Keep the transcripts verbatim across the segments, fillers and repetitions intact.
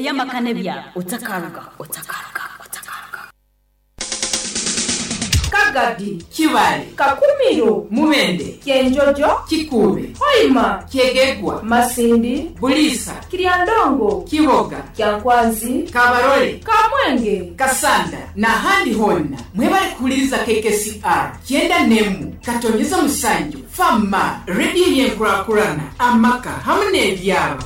Ey'amaka n'ebyaro. Otakaruga, otakaruga, otakaruga. Kagadi, Kibale, Kakumiro, Mubende, Kyenjojo, Kikuube, Hoima, Kyegegwa, Masindi, Buliisa, Kiryandongo, Kiboga, Kyankwanzi, Kabarole, Kamwenge, Kasanda n'ahandi honna mwebale kuwuliriza K K C R kyenda n'emu katonyeza musanju Fama rediyo y'enkurakurana, amaka hamu n'ebyaro.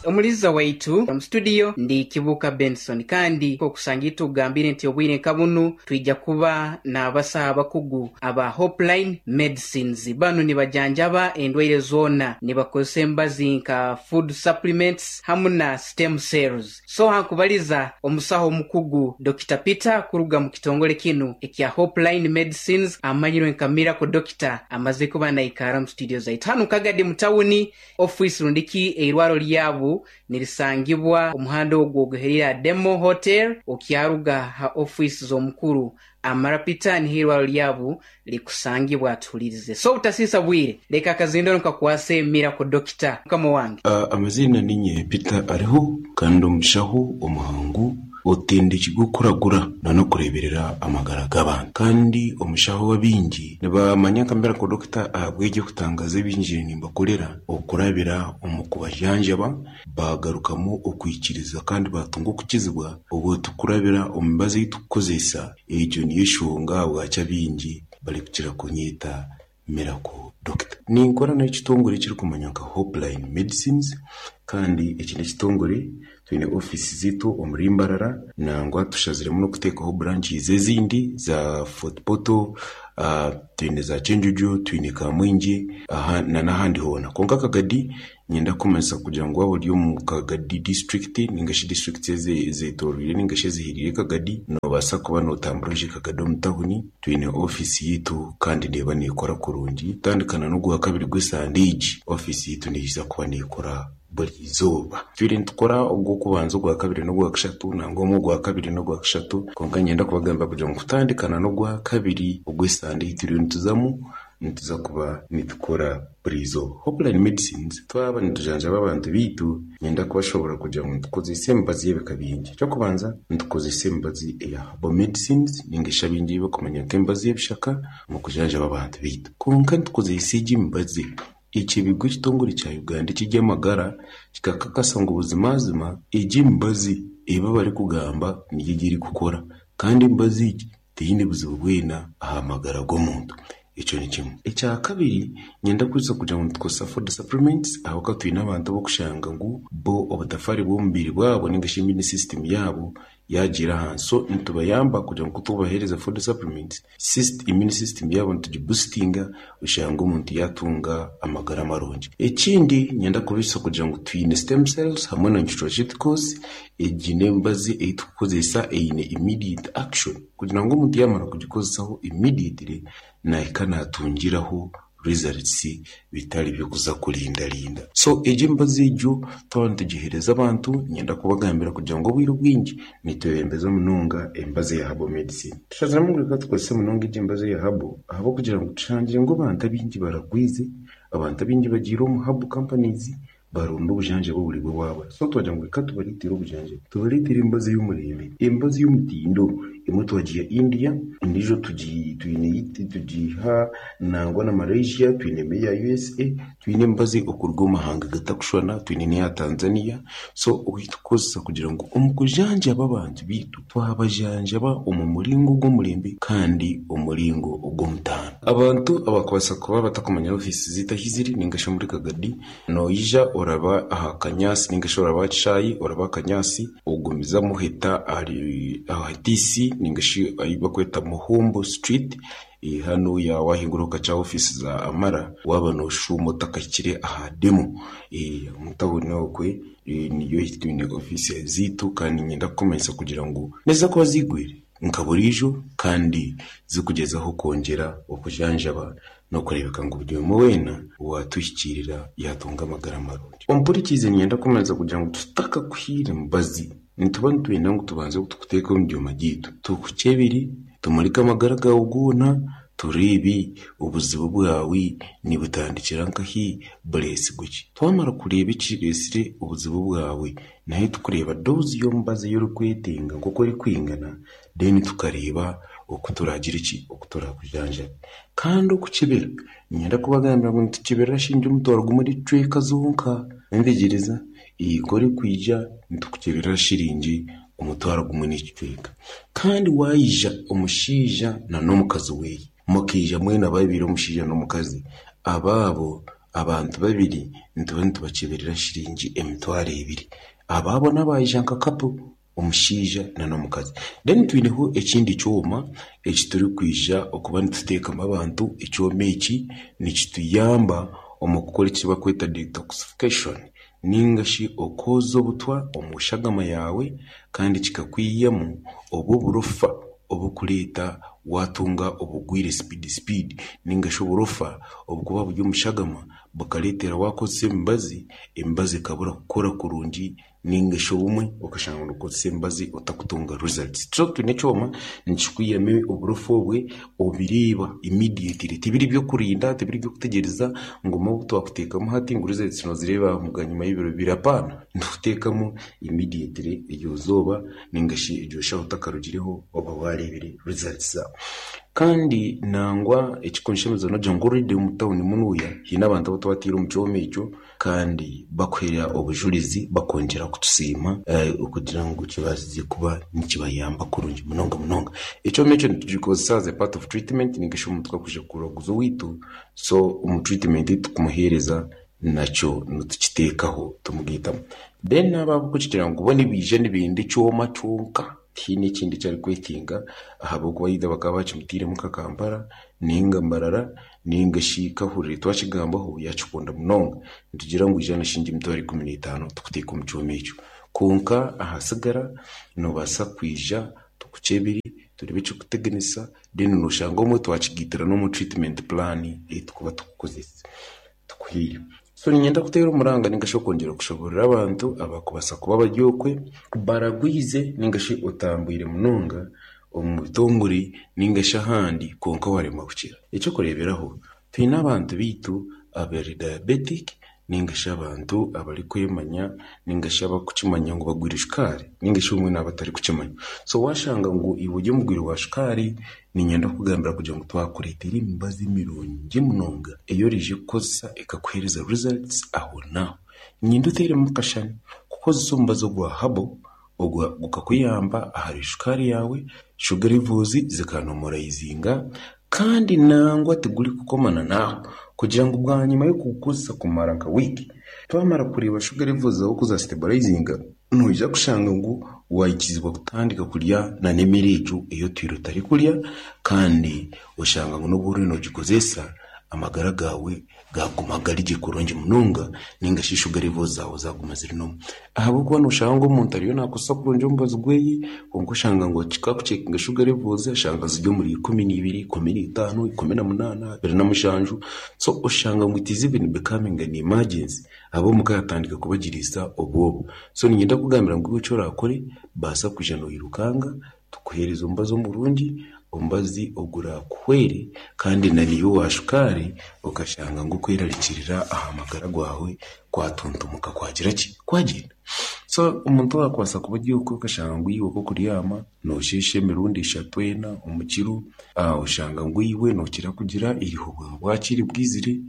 Omuliza waitu omu studio ndi Kibuka Benson, kandi okusanga tugambire nti obwire nka bunu twija kuba n'abasaha abakugu aba Hopeline Medicines. Banu nibajanjaba endwaire zoona nibakozesa embazi nka food supplements hamu na stem cells. So hankubaliza omusaho omukugu Doctor Peter kuruga mu kitongole kinu ekya Hopeline Medicines, amanyirwe nka Miracle Doctor, amaze kuba naikara mu studio zaitu hanu Kagadi mu tawuni. Office rundiki eirwaro lyabo nirisangibwa omuhanda ogwo oguherera Demo Hotel, okyaruga ha office z'omukuru Amara Peter, niho irwaro lyabo likusangibwa. Atuhulirize. So butasisa bwire, leka akazindoro nkakwase Miracle Doctor, mukama wange. Uh, amazina ninye Peter ariho, kandi omushaho omuhangu otendekirwe okuragura nanokureberera amagara g'abantu, kandi omushaho w'abingi nibamanya nka Miracle Doctor ahabw'egyo kutangaza ebingi nimbakorera okurabira omu kubajanjaba bagarukamu okwikiriza kandi batunga okukizibwa obwo tukurabira omu mibazi ei tukukozesa. Egyo niyo enshonga ahabwaki abingi barikukira kunyeta Miracle Doctor. Ninkora n'ekitongore ekirikumanywa nka Hopeline Medicines, kandi eki n'ekitongore twine ofiisi ziitu omuri Mbarara, nangwa tushaziremu n'okuteekaho branches ezindi za Fort Portal, uh, twine za Kyenjojo, twine Kamwingi aha na n'ahandi hoona. Kwonka Kagadi nyenda kumanyisa kugira ngu waaba ori omu Kagadi district ningashi district ezetoroire ningashi eziheriire Kagadi, noobaasa kuba nootambura oije Kagadi omu tawuni, twine ofiisi yiitu kandi neeba neekora kurungi. Kutandikana n'ogwa kabiri gw'esande egi, ofiisi yiitu neija kuba neekora buri izooba. Twire nitukora ogw'okubanza, ogwa kabiri n'ogwa kashatu, nangwa omwe ogwa kabiri n'ogwa kashatu, kwonka nyenda kubagamba kugira ngu kutandikana n'ogwa kabiri ogw'esande ei turiyo nituzamu, nituza kuba nitukora buri izooba. Hopeline Medicines, twaba nitujanjaba abantu biitu, nyenda kubashobora kugira ngu nitukozesa emibazi y'ebika bingi. Ekyokubanza, nitukozesa emibazi eya herbal medicines ningashi abingi ei bakumanya nk'emibazi y'ebishaka omu kujanjaba abantu biitu. Kwonka nitukozesa egi emibazi ekibigwa ekitongore kya Uganda eky'eby'amagara kikakakasa ngu buzimazima egi emibazi eba barikugamba niyo egi erikukora, kandi emibazi egi teyine buzibu bwena aha magara g'omuntu. Ekyo ni kimwe. Ekya kabiri, nyenda kwija kugira ngu nitukozesa food supplements, ahabw'okuba twine abantu ab'okushanga ngu bo obutafaari bw'omubiri bwabo ningashi immune system yaabo yagiira ahansi. So nitubayamba kugira ngu kutubaheereza food supplements, syst immune system yaabo nitugiboostinga, oshanga omuntu yatunga amagara marungi. Ekindi, nyenda kubisa kugira ngu twine stem cells hamwe na nutraceuticals. Egi n'emibazi ei tukukozesa eine immediate action, kugira ngu omuntu yamara kugikozesaho immediately nahika natungiraho results bitari by'okuza kurindarinda. So egyo emibazi egyo twaba nitugiheereza abantu, nyenda kubagambira kugira ngu obwire obwingi nitwebembeza munonga emibazi eya herbal medicine. Tushaziremu ngu reka tukozese munonga egyo emibazi eya herbal, ahabw'okugira ngu tushangire ngu abantu abaingi baragwize, abantu abaingi bagiire omu herbal companies baronda obujanjabi oburi bwabo. So twagira ngu reka tubareetere obujanjabi, tubareetere emibazi y'omurembe, emibazi y'omutindo. Emwe twagiiha India, endiijo twine tugiiha nangwa na Malaysia, twine eya U S A, twine emibazi okuruga omu mahanga gatakushushana, twine n'eya Tanzania. So tukukozesa kugira ngu omu kujanjaba abantu biitu twabajanjaba omu muringo gw'omurembe kandi omuringo ogw'omutaano. Abantu abakubaasa kuba batakumanya ofiisi ziitu ahi ziri ningashi omuri Kagadi, noija oraba aha Kanyasi ningashi oraba aha kishaayi, oraba aha Kanyasi, ogumizamu oheta ahari aha T C ningashi ahi bakweta Muhumbo Street, hanu wahingura okaca ofiisi za Amara, waaba nooshuuma otakahikire aha Demo omu tawuni okwe niyo twine ofiisi ziitu. Kandi niinyenda kukumanyisa kugira ngu niziza kuba ziigwire nka buriijo kandi zikugyezaho kwongyera okujanjaba n'okureebeka ngu buri omwe weena owatuhikiirira yaatunga amagara marungi. Ompurikiize, niinyenda kumanyisa kugira ngu tutakakuhiire mubazi, nituba nitwenda ngu tubanze tukuteeke omu byoma byaitu, tukukyebere, tumurike amagara gaawe goona. Tureebe obuzibu bwawe nibutandikira nkahi, bureesigwe ki. Twamara kureeba ekireesire obuzibu bwawe, naye tukureeba doozi y'omubazi ei orikwetenga nk'oku erikwingana, then tukareeba oku turaagire ki, oku turakujanjabe. Kandi okukyebera, niinyenda kubagambira ngu nitukyebera shiringi omutwaro gumwe n'ekicweka zonka. Entegyereza, ku orikwija nitukukyebera shiringi omutwaro gumwe n'ekicweka. Kandi waija omushaija n'omukazi weeye, mukaija mwena babiri omushaija n'omukazi, abaabo abantu babiri nituba nitubakyeberera shiringi emitwaro ebiri. Abaabo n'abaija nka couple, omushaija n'omukazi. Then twineho ekindi kyoma ekiturikwija okuba nituteekamu abantu. Ekyoma eki nikituyamba omu kukora eki barikweta detoxification ninga shi okwoza obutwa omu shagama yaawe, kandi kikakwihamu obwo oburofa obukureeta watunga obugwire speed speed, ninga shi oburofa obukuba buri omu shagama bukareetera wakozesa emibazi, emibazi ekabura kukora kurungi, ninga shi obumwe okashanga nookozesa emibazi otakutunga results. So twine ekyoma nikikwihamu oburofa obwe obireeba immediately. Tibiri by'okurinda, tibiri by'okutegyereza ngu obu twakuteekamu hati ngu results noozireeba bwanyima y'ebiro bibiri, apaana. Nitukuteekamu immediately eryo izooba ninga shi eryo shaaha otakarugireho oba waareebire results zaawe. Kandi nangwa ekikunshemeza noogira ngu already omu tawuni munuuya haine abantu abu twataire omu kyoma ekyo kandi bakuheera obujurizi bakongyera kutusiima okugira ngu kibaasize kuba nikibayamba kurungi munonga munonga. Ekyoma ekyo nitukikozesa as a part of treatment, ninga shi omuntu akwija kuraguza owaitu, so omu treatment ei tukumuheereza nakyo nitukiteekaho tumugaitamu. Then abo abarikugira ngu bo nibaija nibenda ekyoma kyonka, tihaine ekindi eki arikwetenga, ahabw'okuba either bakaba bakimutairemu nka Kampala ninga Mbarara ninga shi kahurire twakigambaho yakikunda munonga, nitugira ngu ija na shiringi emitwaro ikumi n'etaano tukuteeka omu kyoma ekyo. Kwonka ahasigara noobaasa kwija tukukyebere, tureebe ekirikuteganisa, then nooshanga obumwe twakigaitira n'omu treatment plan ei tukuba tukukozesa tukuhaire. So niinyenda kuteera omuranga ninga shi okwongyera kushoboorora abantu abakubaasa kuba bari okwe baragwize ninga shi otambwire munonga omu bitongore ninga shi ahandi kwonka waremwa kukira. Ekyokureeberaho, twine abantu baitu abari diabetic ninga shi abantu abarikwemanya ninga shi abarikukimanya ngu bagwire shukaari, ninga shi obumwe n'abatarikukimanya. So waashanga ngu iwe ori omugwire wa shukaari, niinyenda kukugambira kugira ngu twakureetera emibazi mirungi munonga ei oriija kukozesa ekakuheereza results ahonaaho. Niinyenda oteeremu akashani kukozesa omubazi ogwa herbal gukakuyamba ahari shukaari yaawe, sugar levels zikanomorizinga, kandi nangwa tigurikukomana naaho kugira ngu bwanyima y'okugukozesa kumara nka wiiki, twamara kureeba sugar levels zaawe oku zastabilizinga, noija kushanga ngu waikizibwa kutandika kurya n'emere egyo ei otwire otarikurya, kandi oshanga ngu n'obu oriyo noogikozesa amagara gaawe gaguma gari gye kurungi munonga, ninga shi sugar levels zaawe zaguma ziri normal. Ahabw'okuba nooshanga ngu omuntu ariyo naakozesa kurungi omubazi gweye, kwonka oshanga ngu kakucekinga sugar levels ashanga ziri omuri ikumi n'ibiri, ikumi n'itaano, ikumi na munaana, abiri na mushanju. So oshanga ngu it is even becoming an emergency, ab'omuka yatandika kubagiriisa obwoba. So niinyenda kukugambira ngu iwe eki oraakore, baasa kwija noirukanga tukuheereze omubazi omurungi, omubazi ogurakuhwere, kandi na niiwe owa shukaari okashanga ngu okwerarikirira aha magara gaawe kwatuntumuka kwagira ki, kwagyenda. So omuntu owaakubaasa kuba ori okwe okashanga ngu iwe nk'okuryama noosheesha emirundi eshatu ena omu kiro, oshanga ngu iwe nookira kugira eiriho bwaba bwakire bwizire,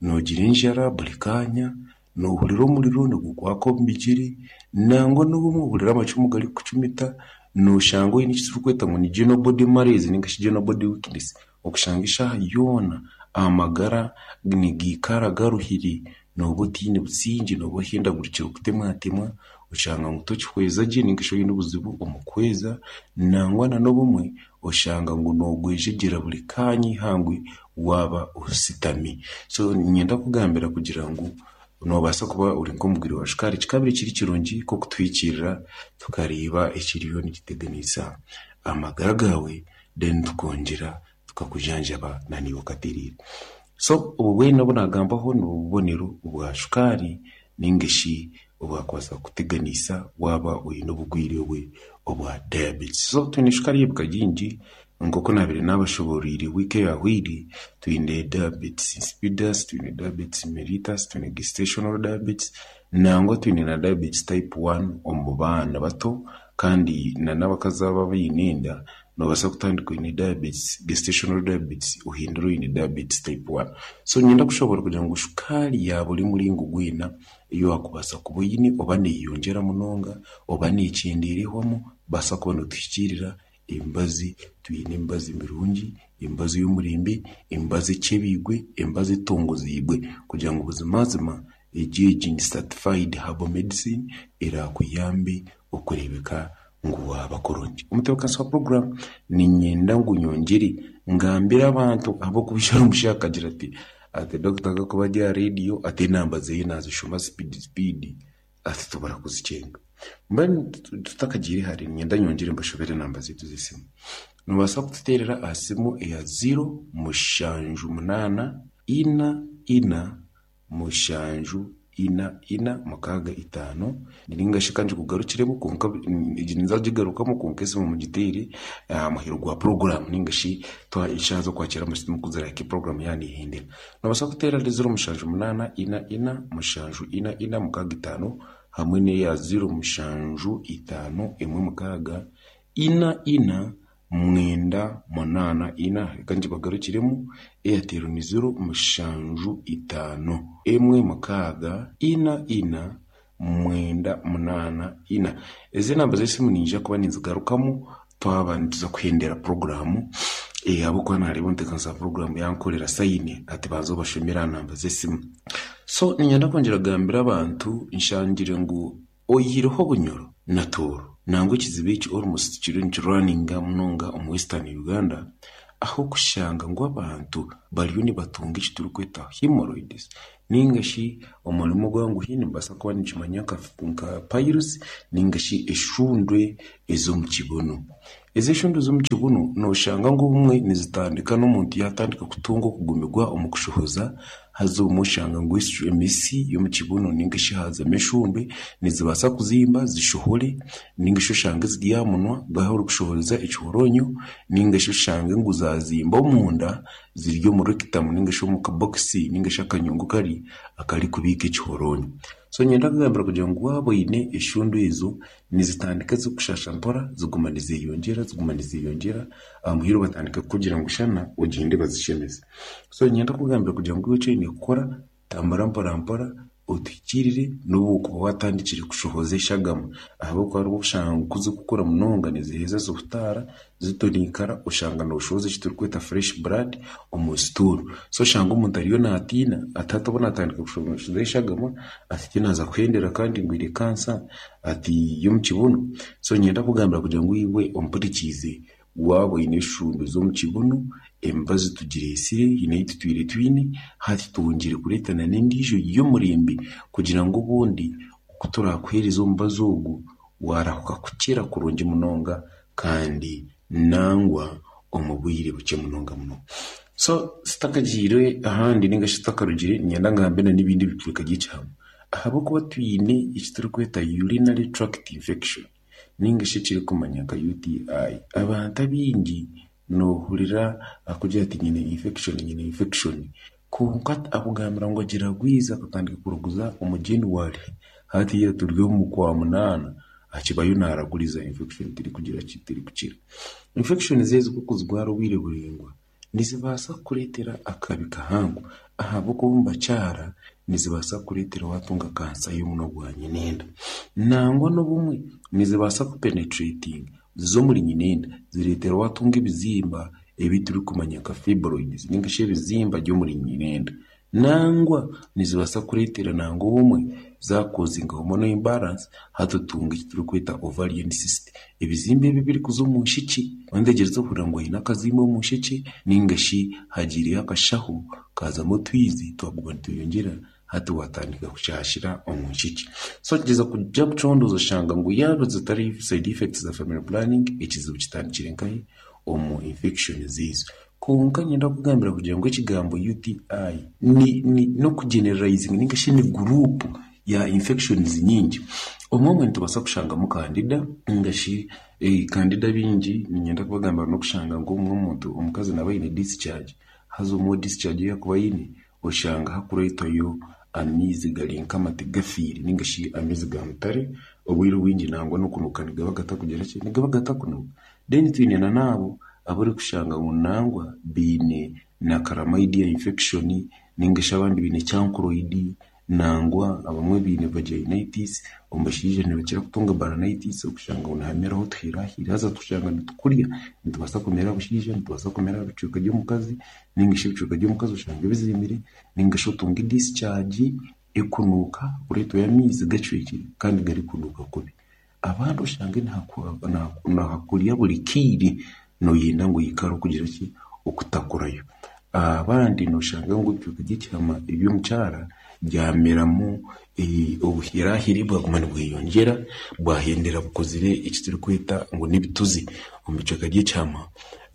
noogira enjara buri kaanya, noohurira omuriro nigukwaka omu bigyere, nangwa n'obumwe ohurira amacumu garikukucumita, nooshanga oine eki turikweta ngu ni general body malaise ninga shi general body weakness, okushanga eshaaha yoona amagara nigiikara garuhire, nooba otiine busingye, nooba ohendagurikire okutemwatemwa, oshanga ngu tokihweza gye ninga shi oine obuzibu omu kuhweza, nangwa n'obumwe oshanga ngu noogwejegyera buri kaanya eihangwe waaba ositami. So niinyenda kukugambira kugira ngu noobaasa kuba ori nk'omugwire wa shukaari, kikabire kiri kirungi nk'okutuhikiirira tukareeba ekiriyo nikiteganisa amagara gaawe, then tukongyera tukakujanjaba naniiwe okatereera. So obu bwena obu naagambaho n'obubonero bwa shukaari ninga shi obwakubaasa kukuteganisa waaba oine obugwire obwe obwa diabetes. So twine shukaari y'ebika bingi. Nk'oku nabire nabashoboreire wiiki eyahweire, twine diabetes insipidus, twine diabetes mellitus, twine gestational diabetes, nangwa twine na diabetes type one omu baana bato, kandi na n'abakazi aba abaine enda nobaasa kutandika oine diabetes, gestational diabetes, ohindure oine diabetes type one. So niinyenda kushobora kugira ngu shukaari ya buri muringo gwena ei waakubaasa kuba oine oba neeyeyongyera munonga oba neekyendeera ehwamu, baasa kuba nituhikiirira emibazi. Twine emibazi mirungi, emibazi y'omurembe, emibazi ekyebiigwe, emibazi etongoziibwe kugira ngu buzimazima egi egi ni certified herbal medicine eraakuyambe okureebeka ngu waaba kurungi. Omutebeekanisa wa puroguraamu niinyenda ngu nyongyere ngambire abantu ahabw'okuba omushaija akagira ati ati dokita akakuba ari aha reediyo ati enamba zeeye naazishoma speed speed ati tubura kuzikyenga. Mbwenu tutakagiire hare niinyenda nyongyere mbashobere enamba zaitu z'esimu. Noobaasa kututeerera aha simu eya ziro mushanju munaana ina ina mushanju ina ina mukaaga itaano, ninga shi ka ngikugarukiremu kwonka egi ninza kugigarukamu kwonka esimu mugiteere aha muheru gwa puroguraamu ninga shi eshaaha z'okwakira amasimu kuzirahika puroguraamu yaaba neehendera. Noobaasa kuteera ahari ziro mushanju munaana ina ina mushanju ina ina mukaaga itaano hamwe n'eya ziro mushanju itaano emwe mukaaga ina ina mwenda munaana ina. Reka ngibagarukiremu, Airtel ni ziro mushanju itaano emwe mukaaga ina ina mwenda munaana ina. Ezi enamba z'esimu niinyija kuba ninzigarukamu twaba nituza kuhendera puroguraamu ahabw'okuba naareeba omutebeekanisa wa puroguraamu yankorera sayini ati banza obashomere aha namba z'esimu. So niinyenda kwongyera kugambira abantu nshangire ngu oihireho obunyoro na tooro nangwa ekizibu eki almost kiriyo nikirwaninga munonga omu Western Uganda, aho kushanga ngu abantu bariyo nibatunga eki turikweta hemorrhoids ninga shi omurimo ogwanguhi nibaasa kuba nikimanya nka piles ninga shi eshundwe ez'omu kibunu. Ezi eshundwe ez'omu kibunu nooshanga ngu obumwe nizitandika n'omuntu yaatandika kutunga okugumirwa omu kushohoza, haza obumwe oshanga ngu emisi y'omu kibunu ninga shi haazamu eshundwe nizibaasa kuzimba zishohore, ninga shi oshange ziri aha munwa ahu orikushohoreza ekihoronyo, ninga shi oshange ngu zaazimba omunda ziri omu rectum ninga shi omu kabokisi ninga shi akanyungu kari akarikubiika ekihoronyo. So niinyenda kugambira kugira ngu waaba oine eshundwe ezo nizitandika zikushasha mpora ziguma nizeyongyera ziguma nizeyongyera aha muheru batandika kukugira ngu shana ogyende bazishemeze. So niinyenda kugambira kugira ngu iwe eki oine kukora tambura mpora mpora otuhikiirire n'obu okuba waatandikire kushohoza eshagama ahabw'okuba hariho oshanga ngu kuzikukura munonga niziheza zihutaara zitoniikara oshanga nooshohoza eki turikweta fresh blood omu stool. So oshanga omuntu ariyo naatiina ati hati obu naatandika kushohoza eshagama ati tinaaza kuhendera kandi ngwire kansa ati y'omu kibunu. So niinyenda kugambira kugira ngu iwe ompurikiize waaba oine eshundwe z'omu kibunu emibazi tugireesire haine ei tutwire twine hati twongyere kureetana n'endiijo y'omurembe kugira ngu obundi oku turaakuheereza omubazi ogu waarahuka kukira kurungi munonga kandi nangwa omu bwire bukye munonga munonga. So tutakagiire ahandi ninga shi tutakarugire niinyenda ngambe n'ebindi bicweka by'ekihama ahabw'okuba twine eki turikweta urinary tract infection ninga shi ekirikumanywa nka U T I. Abantu abaingi noohurira akugira ati nyine infection nyine infection kwonka akugambira ngu agira gwiza akatandika kuraguza omu January hatiiya turi omu kwa munaana akibayo naaraguriza infection terikugira ki terikukira. Infections ezo kukuzigwara obwire buraingwa nizibaasa kukureetera akabi kahango ahabw'okuba omu bakyara nizibaasa kukureetera waatunga kansa y'omunwa gwa nyinenda. Nangwa n'obumwe nizibaasa kupenetratinga zize omuri nyinenda zireetera waatunga ebizimba ebi turikumanya nka fibroids ninga shi ebizimba by'omuri nyinenda. Nangwa nizibaasa kureetera nangwa obumwe zakozinga hormonal imbalance hati otunga eki turikweta ovarian cyst. Ebizimba ebi ebirikuza omu nshikye wandegyereza ohurira ngu oine akazimba omu nshikye ninga shi hagiireyo akashaho kazamu otwizi twaguma nitweyongyera hati watandika kushashira omu nshikye. So gyeza kujya kucondoza oshanga ngu yaaba zitari side effects za family planning ekizibu kitandikire nkahi omu infections ezo. Kwonka niinyenda kugambira kugira ngu ekigambo U T I ni, ni n'okugeneralizinga ninga shi ni group ya infections nyingi. Omwe omwe nitubaasa kushangamu kandida ningashi eh, kandida bingi niinyenda kubagambira n'okushanga nk'omwe omuntu omukazi naaba aine discharge haza omwe discharge ei akuba aine oshanga hakureetwayo amaizi gari nk'amate gafiire ningashi amaizi ga mutare obwire obwingi nangwa n'okunuuka nigaba gatakugira ki nigaba gatakunuuka. Then twine na n'abo abarikushanga ngu nangwa baine na chlamydia infection ningashi abandi baine chancroid nangwa abamwe baine vaginitis omu bashaija nibakira kutunga balanitis okushanga ngu nihameraho otuhirahira haza tushanga nitukurya nitubaasa kumera aha bushaija nitubaasa kumera aha bicweka by'omukazi ningashi ebicweka by'omukazi oshange bizimbire ningashi otunge discharge ekunuuka kureetwayo amaizi gacwekire kandi garikunuuka kubi. Abandi oshange nihakurya buri kaire nooyenda ngu oikare okugira ki okutakurayo. Abandi nooshanga ngu ebicweka by'ekihama eby'omukyara byameramu obuhirahiri bwaguma nibweyongyera bwahendera bukozire eki turikweta ngu n'ebituzi omu bicweka by'ekihama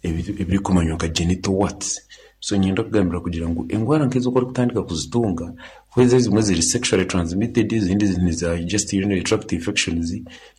ebirikumanywa nka genital warts. So niinyenda kugambira kugira ngu endwara nk'ezo ku orikutandika kuzitunga kwezi ezimwe ziri sexually transmitted ezindi niza just urinary tract infections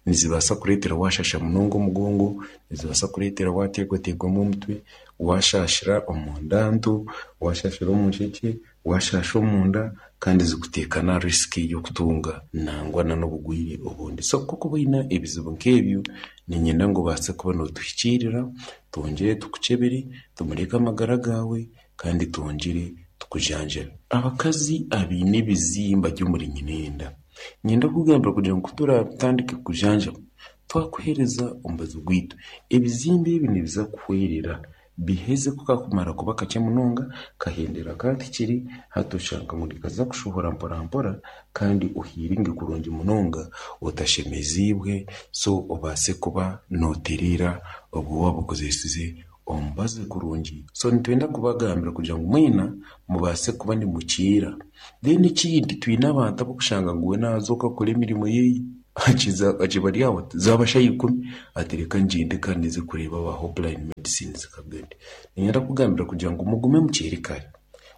nizibaasa kureetera waashasha munonga omugongo, nizibaasa kureetera waateegwateegwamu omutwe, waashashira omunda nto, waashashira omu nshekye, waashasha omunda kandi zikuteeka na risk y'okutunga nangwa n'obugwire obundi. So kokuba oine ebizibu nk'ebyo niinyenda ngu obaase kuba nootuhikiirira twongyere tukukyebere tumureke amagara gaawe kandi twongyere tukujanjabe. Abakazi abaine ebizimba by'omuri nyinenda niinyenda kugambira kugira ngu kuturatandike kujanjaba twakuheereza omubazi gwaitu ebizimba ebi nibiza kuhwerera biheze kukakumara kuba kakye munonga kahendera katikiri hati oshanga ngu nikaza kushohora mpora mpora kandi ohiringe kurungi munonga otashemeziibwe so obaase kuba nootereera obwo waaba okozesize omubazi kurungi. So nitwenda kubagambira kugira ngu mwena mubaase kuba nimukiira. Then ekindi twine abantu abokushanga ngu we naaza akora emirimo ye akiza akiba ari aho zaaba shaaha ikumi ati reka ngyende kandi nze kureeba aba Hopeline Medicines kagende. Niinyenda kugambira kugira ngu mugume mukiire kare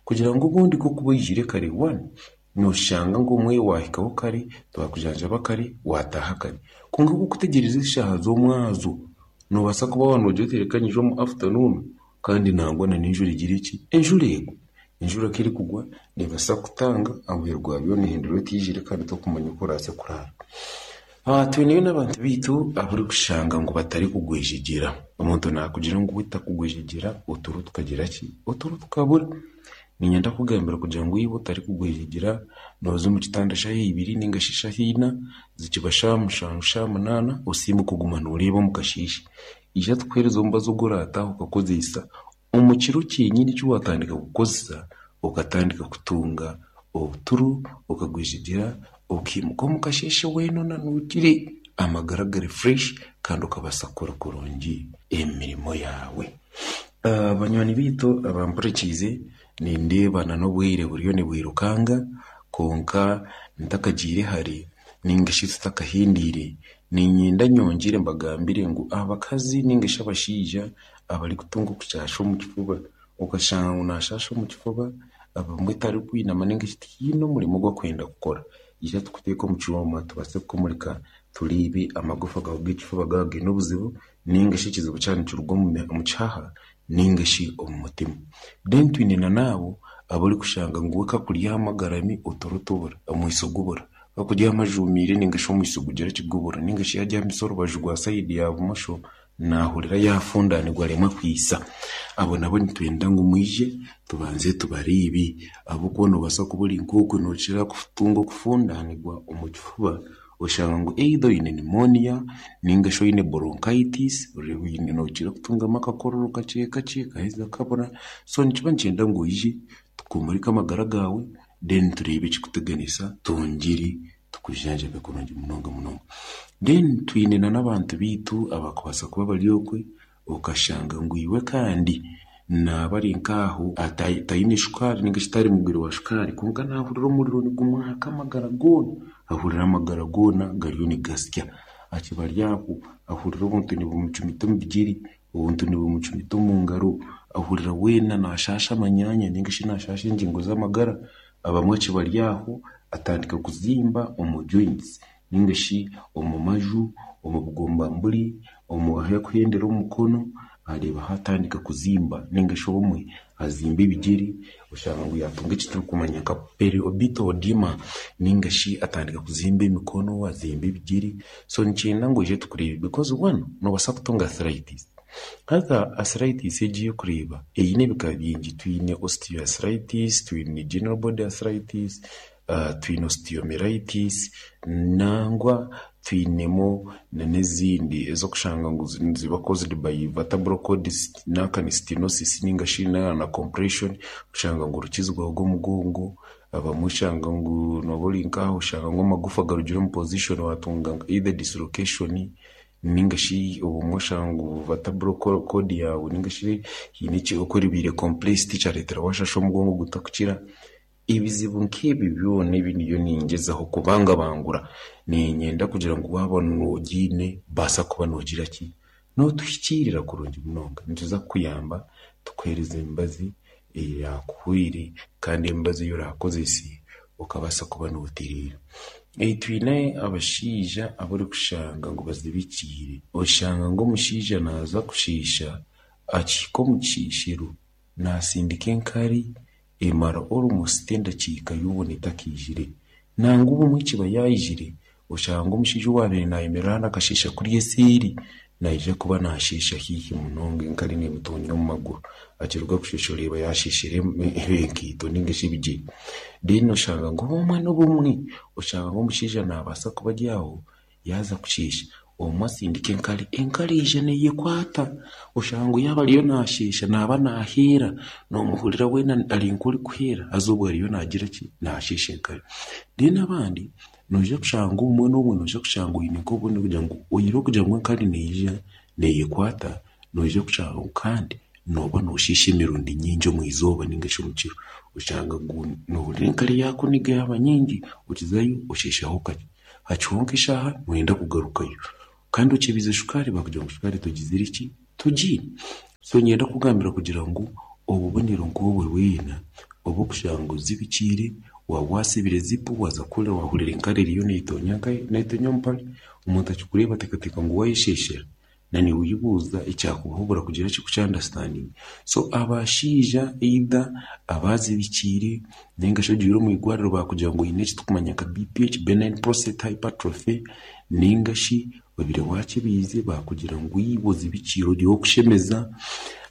kugira ngu obundi kokuba oijire kare one nooshanga ngu omwe waahikaho kare twakujanjaba kare waataaha kare kwonka kokutegyereza eshaaha z'omwazo noobaasa kuba waaba noogira oti reka nyije omu afternoon kandi nangwa n'enjura egire ki enjura egwe. Enjura ku erikugwa neebaasa kutanga ahamuheru gwa byona ehindura etiijire kandi tokumanya oku oraase kuraara. Twineyo n'abantu baitu abarikushanga ngu batarikugwejegyera. Omuntu naakugira ngu we takugwejegyera oturo tukagira ki oturo tukabura. Niinyenda kugambira kugira ngu iwe otarikugwejegyera nooza omu kitanda shaaha ibiri ningashi shaaha ina zikiba shaaha mushanju shaaha munaana osiime kuguma nooreeba omu kasheeshe. Ija tukuheereze omubazi ogu oraataaha okakozesa omu kiro kyenyini eki waatandika kukozesa okatandika kutunga obuturo okagwejegyera okiimuka omu kasheeshe weena onanuukire amagara gari fresh kandi okabaasa kukora kurungi emirimo yaawe. Banywani baitu abampurikiize nindeeba n'obwire buriyo nibwirukanga kwonka ntakagiire hare ningashi tutakahindiire niinyenda nyongyere mbagambire ngu abakazi ningashi abashaija abarikutunga okushasha omu kifuba okashanga ngu naashasha omu kifuba abamwe tarikwinama ningashi tihaine omurimo ogu akwenda kukora ija tukuteeke omu kyoma tubaase kukumurika tureebe amagufa gaawe g'ekifuba gaaba gaine obuzibu ningashi ekizibu kyaba nikiruga omu kihaha ningashi omu mutima. Then twine na n'abo abarikushanga ngu we kakuryama agarami oturo tubura omwiso gubura kakuryama ajumiire ningashi omwiso gugira ki gubura ningashi yaryamisa orubaju rwa sayidi ya bumosho naahurira yaafundanirwa aremwe kwisa. Abo nabo nitwenda ngu mwije tubanze tubareebe ahabw'okuba noobaasa kuba ori nk'okwe nookira kutunga okufundanirwa omu kifuba oshanga ngu either oine pneumonia ningashi oine bronchitis nookira kutungamu akakororo kakye kakye kaheza kabura so nikiba nikyenda ngu oije tukumurike amagara gaawe then tureebe ekikuteganisa twongyere tukujanjabe kurungi munonga munonga. Then twine na n'abantu baitu abakubaasa kuba bari okwe okashanga ngu iwe kandi naaba ari nk'aho taine shukaari ningashi tari mugwire wa shukaari kwonka naahurira omuriro nigumwaka amagara goona ahurira amagara goona gariyo nigasya akiba ari aho ahurira obuntu nibumucumita omu bigyere obuntu nibumucumita omu ngaro ahurira weena naashasha amanyanya ningashi naashasha engingo z'amagara abamwe akiba ari aho atandika kuzimba omu joints Ninga shi omu maju, omu bugombamburi, omu ahakuhendera omukono, areeba hatandika kuzimba ninga shi obumwe azimba ebigere, oshanga ngu yatunga eki turikumanya nka periorbital edema ninga shi atandika kuzimba emikono, azimba ebigere. So nikyenda ngu oije tukureebe because one, noobaasa kutunga arthritis. Haza arthritis egi ey'okureeba eine ebika bingi. Twine osteoarthritis, twine general body arthritis, uh, twine osteomyelitis, nangwa twinemu n'ezindi ez'okushanga ngu ziba caused by vertebral cord stenosis ninga shi na compression, oshanga ngu orukizi rwawe rw'omugongo, abamwe oshanga ngu nooba ori nk'aho oshanga ngu amagufa garugire omu position watunga either dislocation ninga shi obumwe oshanga ngu vertebral cord yawe ninga shi hiine oku eribaire compressed kyareetera washasha omugongo gutakukira. Ebizibu nk'ebi byona ebi ndiyo ningyezaho kubangabangura, niinyenda kugira ngu waaba noogiine baasa kuba noogira ki? Nootuhikiirira kurungi munonga. Nituza kukuyamba tukuheereza emibazi eyaakuhwire kandi emibazi ei oraakozese okabaasa kuba nootereera. Twine abashaija abarikushanga ngu bazibikiire. Oshanga ngu omushaija naaza kushiisha, akihika omu kishiishiro, naasindika enkari emara almost endakiika yoona etakiijire. Nangwa obumwe ekiba yaijire, oshanga omushaija owaabaire naayemerera hanu akashiisha kuriya eseeri, naija kuba naashiisha haihi munonga enkari neemutonya omu maguru. Akiruga kushiisha oreeba yaashiishire enkaito ninga shi ebigyere. Then oshanga ngu obumwe n'obumwe oshanga ngu omushaija naabaasa kuba ari aho yaaza kushiisha, obumwe asindika enkari, enkari eija neeyekwata. Oshanga ngu yaaba ariyo naashiisha naaba naaheera, noomuhurira weena ari nk'orikuheera haza obwo ariyo naagira ki? Naashiisha enkari. Then abandi noija kushanga obumwe n'obumwe noija kushanga oine nk'obundi kugira ngu oine okugira ngu enkari neija neeyekwata, noija kushanga ngu kandi nooba nooshiisha emirundi nyingi omu izooba ninga shi omu kiro. Oshanga ngu noohurira enkari yaakuniga yaaba nyingi, okizayo oshiishaho kakye. Hakiho nk'eshaaha nooyenda kugarukayo. Kandi okyebize shukaari bakugira ngu shukaari togizire ki? Togiine. So niinyenda kukugambira kugira ngu obubonero nk'obwo bwena obw'okushanga ozibikiire, waaba wasibire zipu waaza kuhurira waahurira enkari eriyo neetonya neetonya omu mpare, omuntu akikureeba ateekateeka ngu waayesheeshera. Na niiwe oyebuuza ekyakubuhubura kugira ki kukyandasitandinga. So abashaija either abazibikiire ninga shi ogiire omu igwariro baakugira ngu oine eki turikumanya nka B P H, benign prostate hypertrophy, ninga shi obaire wakyebiize baakugira ngu iwe ozibikiire ori ow'okushemeza.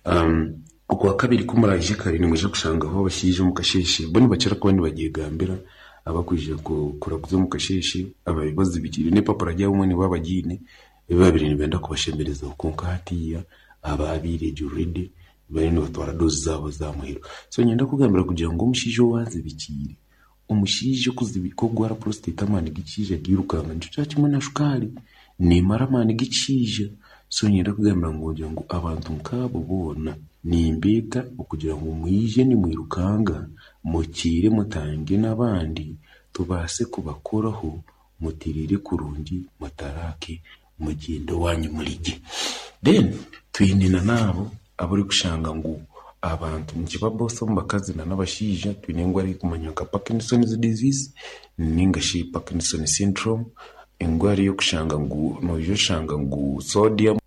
Um, okwa kabiri ku muraije kare nimwija kushangaho abashaija omu kasheeshe, bo nibakira kuba nibagyegambira abakwija kuraguza omu kasheeshe, ababaire bazibikiire n'epapura ryabo obumwe nibaba bagiine, ebi babaire nibenda kubashemerezaho kwonka hatiiya abaabaire gye already bariyo nibatwara doozi zaabo za muheru. So niinyenda kukugambira kugira ngu omushaija owaazibikiire, omushaija okugwara prostate amaani g'ekishaija gairukanga nikyo kya kimwe na shukaari neemara amaani g'ekishaija. So niinyenda kugambira ngu kugira ngu abantu nk'abo boona nimbeeta okugira ngu mwije nimwirukanga, mukiire mutange n'abandi tubaase kubakoraho mutereere kurungi mutaraake mugyende owanyu murigye. Then twine na n'abo abarikushanga ngu abantu nikiba both omu bakazi n'abashaija twine endwara erikumanywa nka Parkinson's disease ninga shi Parkinson syndrome, endwara ey'okushanga ngu noija oshanga ngu sodium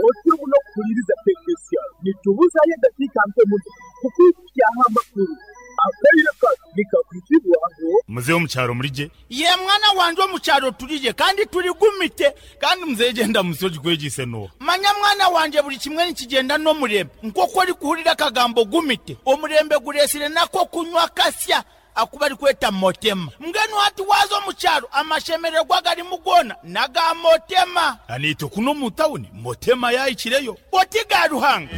Otyo muno kuhuliriza K K C R nitubuzayo edakiika nke muno kukwikyaho amakuru akaire kano nikakwitibwaho. Muzehe omukyaro murigye? Ye mwana wanje, omukyaro turigye kandi turigumite. Kandi muzehe genda musi ogikwegise no. Manya mwana wanje, buri kimwe nikigenda n'omurembe. Nk'oku orikuhurira akagambo gumite, omurembe guresire nako kunywa kasya akuba arikweta motema. Mbwenu hati waza omukyaro amashemererwa garimu gona naga motema. Anitwe kuno mu tawuni motema yayikireyo. Oti ga Ruhanga.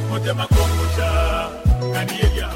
Motema kombucha.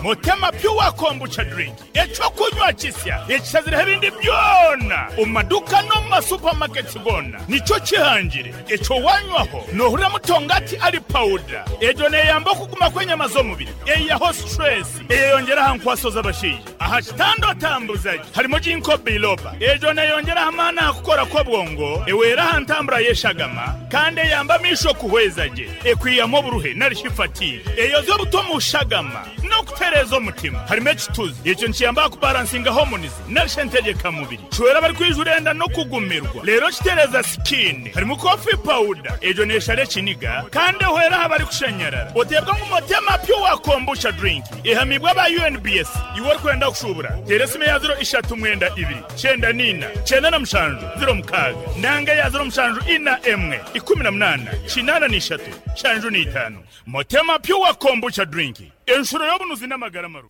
Motema Pure Kombucha drink, ekyo kunywa kisya ekishazireho ebindi byona omu maduka no mu masupamaketi gona. Nikyo kihangire ekyo wanywaho nohurira mutongati ari powder. Egyo neyamba okuguma kw'enyama z'omubiri, eyaho stress, eyeyongera aha nkwaso z'abashaija. Aha kitanda otambuzaje harimo ginkgo biloba, ejo neyongeraho amaani aha kukora kw'obwongo, ewera aha ntambura y'eshagama kandi eyamba amisho kuhweza gye, ekwiyamu oburuhe narishi fatigue, eyoza obuto mu shagama n'okutereeza omutima. Harimo ekituzi, ekyo nikiyamba aha kubalansinga hormones narishi entegekamubiri, kiwera abari enda n'okugumirwa, rero kitereza skin. Harimo coffee powder, ejo neshara ekiniga kandi ehwera aha bari kushanyarara. Oteebwa ngu Motema Pure Kombucha drink ehamibwa aba U N B S. Iwe orikwenda kushubura, tera esimu ya ziro ishatu mwenda ibiri cyenda nina cyenda na mushanju ziro mukaaga nanga ya ziro mushanju ina emwe ikumi na munana kinana n'ishatu shanju n'itano. Motema Pure Kombucha drink, enshuro y'obunuzi n'amagara maru.